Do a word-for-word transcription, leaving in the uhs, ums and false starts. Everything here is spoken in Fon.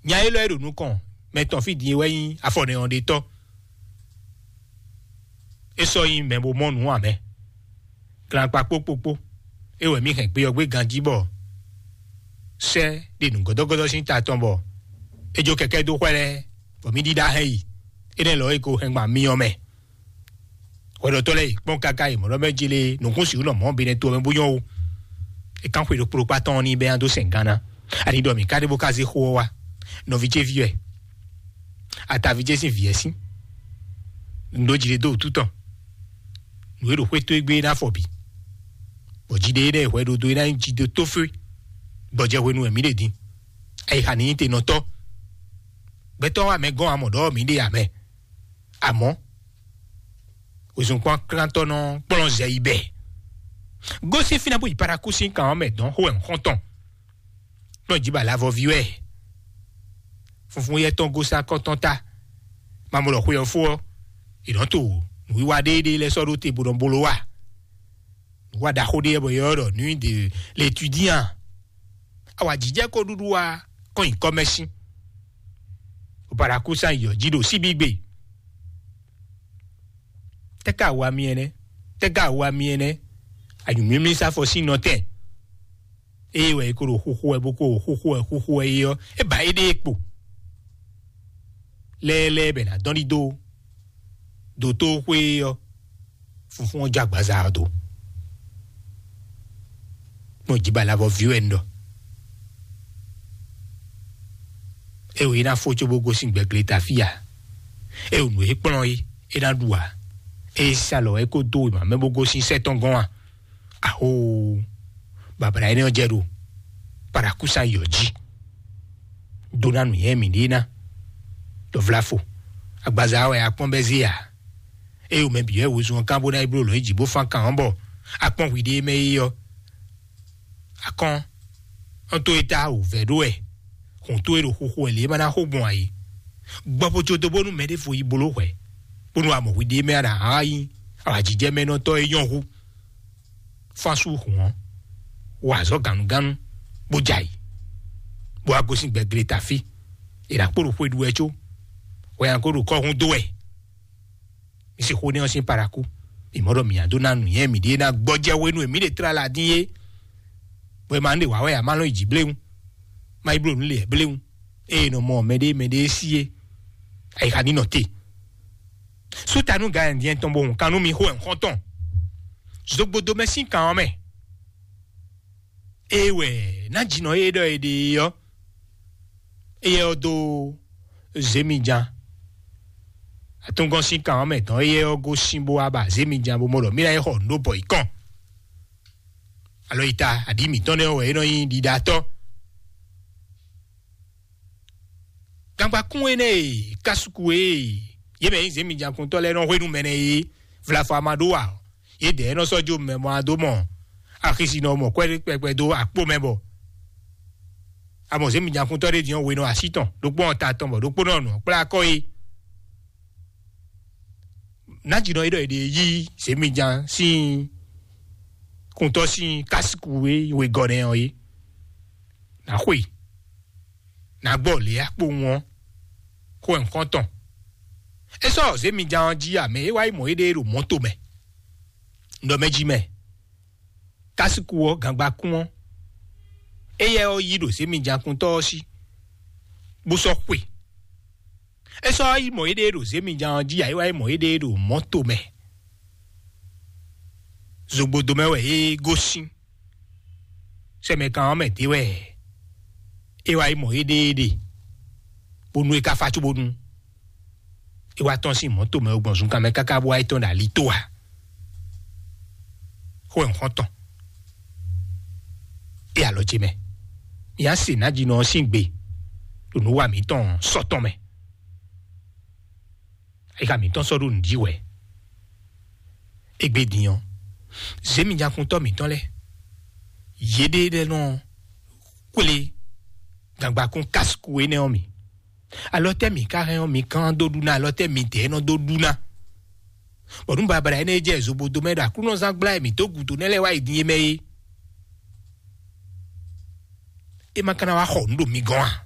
Nya élɔ́ e ɖo nukɔn mɛ tɔn fí din é wɛ nyí afɔnɛyɔnɖetɔ́. É sɔ́ nyí mɛ bo mɔ nǔ ǎ mɛ. Glakpa kpókpókpó é wɛ mǐ hɛn gbe ɔ́ gbé ganjí bɔ sɛ́ ɖe nǔgɔ́dɔ́gɔ́dɔ́ sín ta tɔn bɔ é jó kɛkɛ́ dó xwɛ lɛ́ɛ, bɔ mǐ ɖíɖá hɛn yi. Énɛ́ lɔ é ko hɛn gban myɔ mɛ. Hwɛɖɔtɔ́ lɛ́ɛ yi kpɔ́n káká yi mɔ̌ ɖɔ mɛ jlé nǔkún sixú nɔ mɔ̌ benɛ to ɔ́ mɛ bó nyɔ́ ó. É kán xwe ɖokpó ɖokpá tɔn ɔ́ ní bɛ́ nya dó sɛn gán ná. Ani ɖɔ mǐ ka ɖé bó ka zé xó ɔ́ wá. Nɔví ce ví wɛ. Ataví ce sín vǐ wɛ sín. Nǔ ɖó jlé dó wútu tɔn. Nǔ e ɖo xwé tó égbé ná fɔ bǐ. Bɔ jí ɖé énɛ́ hwɛ ɖo dó é ná nyí jí dó tófé. Gbɔjɛ hwenu wɛ mǐ ɖe din. Ayixa ní nyí te nɔ tɔ́. Gbɛtɔ́ wa mɛ gɔ́n amɔ ɖɔ mǐ ɖe amɛ. Àmọ́ wezun kpɔ́n klántɔ́ nɔ kplɔ́n zɛ yi bɛ. Gosín fínɛ́ bó yi Parakúsín kan ɔ́ mɛ dɔn xó wɛ nǔ xɔ́ntɔn. Kplɔ́n jí ba lavɔví wɛ. Funfun yɛ tɔn gosín akɔ́tɔn ta. Mamɔ ɖɔ xwe ɔ́ fó ɔ́, è nɔ to nǔwiwa ɖéeɖée lɛ́ɛ sɔ́ ɖó te bó nɔ bló wa. Nǔwa ɖaxó ɖé wɛ bɔ è ylɔ́ ɖɔ nuit de l'étudiant. Awǎjijɛ ko ɖuɖu wa kɔn nyi kɔmɛsin. Opaɖakúsán yɔ jí ɖo síbígbe. Tɛ́ ka wa mi ɛnɛ? Tɛ́ ka wa mi ɛnɛ? Anyǔmímí sáfɔ sín nɔtɛn. Ée wɛ é ko ɖo xúxú wɛ bó ko ɖo xúxú wɛ xúxú wɛ é ɔ́, é ba éɖée kpo. Lɛ́ɛlɛ́ɛ bɛ nǎ dɔn ɖi dó dotóxwé ɔ́, funfún ɔ́ jó agbaza ɔ́ dó. Kpɔn jí ba lavɔ ví wɛ un ɖɔ. É wǒ é ná fó cóbó gosín gbɛgleta fí ǎ. É wǒ nǔ e kplɔ́n é é ná ɖu ǎ. É sa lɔ é kó dó wěma mɛ bó gosín sɛ́ tɔn gɔ́n ǎ. Ahoo, babla énɛ́ ɔ́ jɛ ɖo Parakúsa yɔ jí. Dó ná nǔnyɛ mǐɖée ná. Ɖɔ vláfo, agbaza wɛ akpɔ́n bɛ́ zé ǎ. Ée wǒ mɛ bǐ wɛ wezun ɔ́ kán bó ná yi bló lɔ̌ yi jǐ bó fán kan ɔ́ bɔ akpɔ́n hwiɖée mɛ é ɔ́, akɔ́n ɔ́ tó é tá wǔvɛ́ ɖó wɛ. Hǔn tó é ɖo xuxu wɛ lě é ma ná xo gbɔn ǎ é. Gbɔ bó jó dó bónú mɛ ɖěvo yi bló hwɛ̌, bónú amɔ hwiɖée mɛ ɔ́ ɖo ahǎ nyí awǎjijɛmɛnɔtɔ́ e nyɔ́ hú. Fán sú hǔn ɔ́, wa azɔ̌ gannúgannú, bó jɛ ayǐ, bó wá gosín gbɛgleta fí. È nǎ kpo ɖo xwe ɖu wɛ có hwɛ nya ko ɖo kɔ́hún dó wɛ. Mi si xó nɛ́ ɔ́ sín paɖakú. Mi mɔ ɖɔ mǐ nya dó ná nǔnywɛ́ mǐɖée ná gbɔjɛ́ hwenu e mǐ ɖe tlala dín é. Bɔ è ma nú ɖe wǎ wɛ ǎ, má lɔn yi jǐ bléwún, má yi bló nǔ lě bléwún. Ée è nɔ mɔ mɛɖée mɛɖée sí é, ayixa ní nɔ te. Sútanu Gayɛndiɛn tɔn bo hun kan nú mi xó wɛ un xɔ́n tɔn. Zogbodo mɛ sín kan ɔ́ mɛ. Ée wɛ ná jǐnɔ e ɖɔ è ɖe é ɔ́, éyɛ́ ɔ́ dó zěmijan. Atúngɔ́n sín kan ɔ́ mɛ tɔn éyɛ́ ɔ́ gosín bó wá ba zěmijan bó mɔ ɖɔ mí ná yi xɔ nǔ ɖó bɔ yi kɔn. Alɔ yi ta aɖǐ mǐtɔn nɛ́ wɛ é nɔ nyí ɖiɖatɔ́. Gangbakún énɛ́ e kásuku e yě mɛ nyí zěmijakuntɔ́ lɛ́ɛ nɔ hwenu mɛ nɛ́ é vlafɔ ama ɖó wa, yědɛɛ nɔ sɔ́ jó mɛ mɔ adó mɔ axisinɔ mɔ kwɛ́ kpɛkpɛ dó akpó mɛ bɔ amɔ zěmijakuntɔ́ ɖé din ɔ́ wenɔ así tɔn, ɖokpó ɔ́ ta tɔn bɔ ɖokpó nɔ nɔ kplá akɔ é. Nájínɔ é ɖɔ è ɖe yí zěmijan sín kuntɔ́ sín kásiku e wegɔ́ nɛ́ ɔ́ é. Nǎ xwe, nǎ gbɔ lě akpowun ɔ́, xó wɛ nǔkɔn tɔn. É sɔ́ zěmijan ɔ́ jí amɛ é wá yi mɔ éɖée ɖo mɔ̌to mɛ, ɖɔ mɛ jí mɛ. Kásiku ɔ́, gangbakún ɔ́, éyɛ́ ɔ́ yí ɖo zěmijakuntɔ́ ɔ́ sí, bó sɔ́ xwe. É sɔ́ yi mɔ éɖée ɖo zěmijan ɔ́ jí ǎ, é wá yi mɔ éɖée ɖo mɔ̌to mɛ. Zogbodo mɛ wɛ é gosín. Sɛmɛkan ɔ́ mɛ d'é wɛ é wá yi mɔ éɖée ɖe, bónú é ka fá cóbónú é wá tɔ́n sín mɔ̌to mɛ gbɔn zunkan mɛ káká bó wá yi tɔ́n ɖo ali tó ǎ. Xó wɛ un xɔ́n tɔn. É alɔ ce mɛ, mi á se nǎjínɔ ɔ́ sín gbe ɖo nǔ wa mǐtɔn sɔ́ tɔn mɛ. Ayixa mǐtɔn sɔ́ ɖo nǔ jí wɛ. Égbé din ɔ́, zěmijakuntɔ́ mǐtɔn lɛ́ɛ, yěɖée lɛ́ɛ nɔ kplé gangbakún kásiku énɛ́ ɔ́ mì. Alɔ tɛ́ mǐ ka hɛn ɔ́, mi kán dó ɖu ná? Alɔ tɛ́ mi dɛ̌ nɔ dó ɖu ná? Bɔ nú babla énɛ́ e jɛ zobodo mɛ ɖo Aklúnɔzán gbla e mǐ dó gǔdo nɛ́ lɛ́ɛ wá yi din é mɛ é, é ma ka ná wá xɔ nǔ ɖo mi gɔ́n a?